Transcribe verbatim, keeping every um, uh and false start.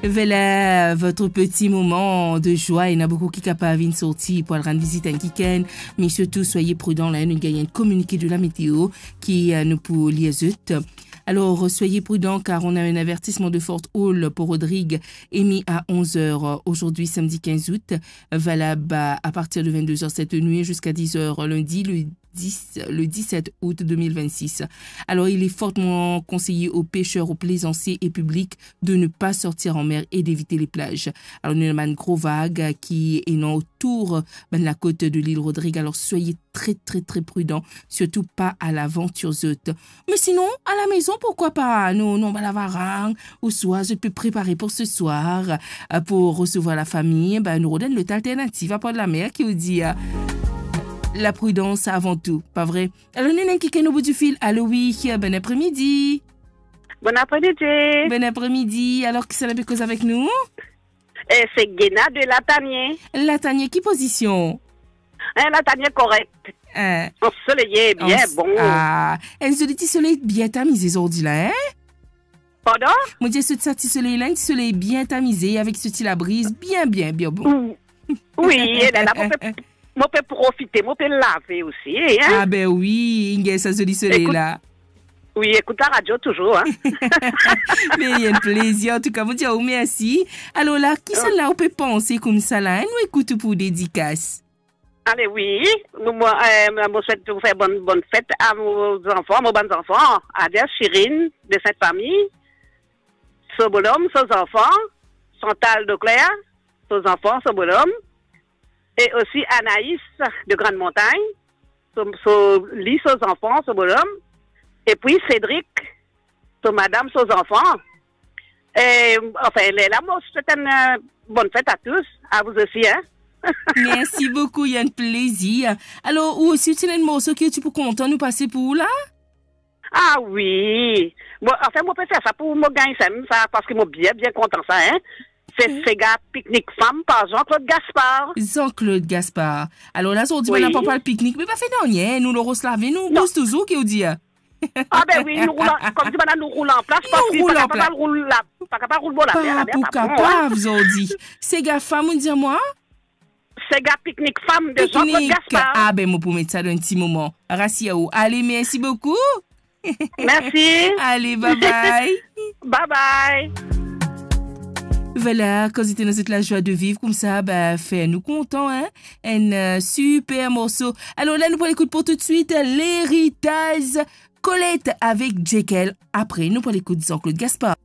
Voilà votre petit moment de joie. Ena boukou ki kapav vinn sorti pou al rann vizit enn kikenn, me sirtou, soyez prudents, la, nou gagn enn kominike de la météo ki, euh, nou pou lir zot. Alors, soyez prudents car on a un avertissement de forte houle pour Rodrigues émis à onze heures aujourd'hui, samedi quinze août, valable à, à partir de vingt-deux heures cette nuit jusqu'à dix heures lundi, le dix, le dix-sept août deux mille vingt-six. Alors, il est fortement conseillé aux pêcheurs, aux plaisanciers et publics de ne pas sortir en mer et d'éviter les plages. Alors, nou ena bann gro vag ki ena otour bann lakot de l'île Rodrigues. Alors, soyez très, très, très prudents, surtout pas à l'aventure zot. Mais sinon, à la maison, pourquoi pas? Non, non, ba lavarang, oswa zot pe prepare pour ce soir, euh, pour recevoir la famille, ben, nou rod enn lot alternativ apar lamer, ki ou dir, euh, la prudence avant tout, pa vre? Alors, nou ena enn kikenn o bout di fil. Alo, wi, bon apremidi. Bon apremidi. Bon apremidi. Alors, kisannla pe koz avek nou? Eh, se Gena de Latanie. Latanie, ki pozision? Eh, Latanie korek. Eh. Ansoleye, bien bon. Ah, enn zoli ti soley bien tamize zordi la, hein? Pardon? Mo dir, so ti soley la, enn ti soley bien tamize, avek so ti labriz, bien, bien, bien bon. Ou-, wi, e lerla, mo pe, mo pe profite, mo pe lave osi, hein? Ah ben wi, inn gagn sa zoli soley la. Wi, ekout la radio touzour, hein? Me enn plezir, antouka, mo dir ou mersi. Alor la, kisannla ou pe panse koumsa la, hein? Nou ekout ou pou dedikas. Ale wi, mo, mo, eh, mo swet ou fer bonn, bonn fet a mo zanfan, mo bann zanfan, Adia, Chirine, de Sint Fami, so bonom, so zanfan, Chantal Doclair, so zanfan, so bonom, e osi Anaïs de Grande Montagne, so, so, li, so zanfan, so bonom, epi Cédric, so madam, so zanfan. E, anfin, lerla, mo swet enn, eh, bonn fet a tous, a vous aussi, hein? Mersi boukou, enn plezir. Alor, ou osi, ou ti ena enn morso ki ou ti pou kontan nou pase pou ou la? Ah wi. Bon, anfin, mo pe fer sa pou mo gagn sa, sa, parski mo bien, bien kontan sa, hein. Se, mhm, Sega Piknik Fam par Jean-Claude Gaspard. Jean-Claude Gaspard. Alor la, zordi, wi, bann la pa pou al piknik, me pa fer nanye, nou lor ros lavi, nou bouz touzour, ki ou dir? Ah ben wi, nou roul an, kouma dir bann la, nou roul anplas, nou parski roul pa kapav anplas. Roul la, pa kapav roul bor lamer, pa pou kapav, zordi. Sega Fam, ou dir mwa? Sega Piknik Fam de Jean-Claude Gaspard. Ah ben, mo pou met sa dan enn ti moman. Rasir ou. Ale, mersi boukou. Mersi. Ale, bye bye. Bye bye. Voilà, kan zot ena zot lazwa de viv koumsa, ben, fer nou kontan, hein? Enn, euh, super morso. Alor la, nou pou al ekout pou toutswit L'Héritage, Colette avek Jekyll. Apre, nou pou al ekout Jean-Claude Gaspard.